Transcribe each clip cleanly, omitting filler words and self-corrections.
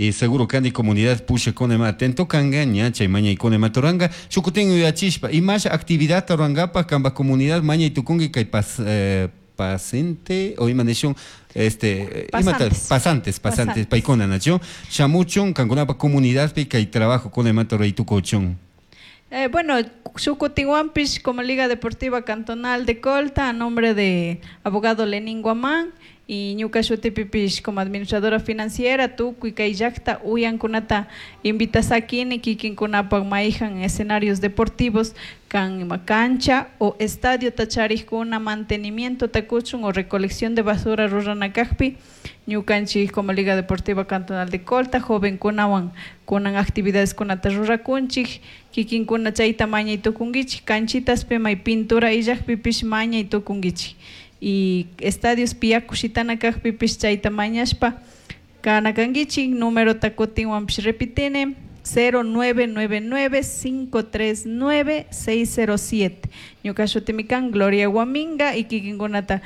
Y seguro kani comunidad pushakuna ima atento kanga ña chay mañaykuna imata ruranka shukutin yuyachishpa imasha actividadta rurankapak kanpak comunidad mañay tukunki kay pas, pasente o ima nishun este imata Pasantes. pasantes pasantes paykuna nachu shamuchun kankunapak comunidadpi kay trabajokuna imata ruray tukuchun. Bueno, shukutinwanpish como Liga Deportiva Cantonal de Colta, a nombre de abogado Lenín Guamán y ñuka shutipipish como administradora financiera, tukuy kay llakta uyankunata invitasakini kikinkunapak mayhan escenarios deportivos kan ima cancha o estadio charikuna mantenimiento kuchun o recolección de basura rurana kakpi ñukanchik como Liga Deportiva Cantonal de Colta jovenkunawan kunan actividades kunata rurakunchik kikinkuna chayta mañay tukunkichik canchitaspi may pintura illakpipish mañay tukunkichik y estadios yaku shitana kakpipish chayta mañashpa kana kankichik numerota kutinwanpish repitini 0999 539 607 ñuka shutimi kan Gloria Guaminga y kikinkunata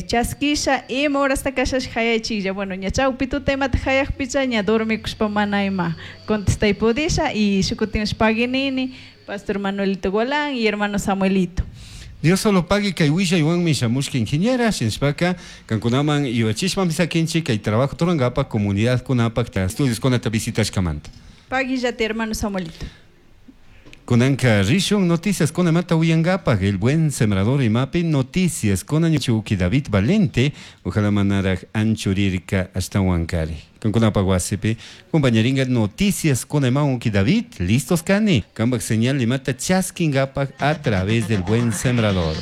chaskisha ima horasta kashash hayachiklla bueno ña chawpi tuta imata hayakpicha ña dormikushpa mana ima contestay pudisha y shukutin paguinini Pastor Manuelito Golán y hermano Samuelito. Dios solo pague kay willaywanmi shamushka ingeniera shinashpaka kankunaman yuyachishpami sakinchik kay trabajo rurankapak comunidad kunapak estudios kunata visitashkamanta. Paguillate hermano Samuelito. Kunanka rishun noticias kunamanta uyankapak el buen sembrador imapi noticias kunan chuki David Valente ojalá manaraj anchurirka ashtawankari. Kankunapak wasipi compañeringa noticias kunama uki David listos kani kanpak señal imata chaskinkapak a través del buen sembrador.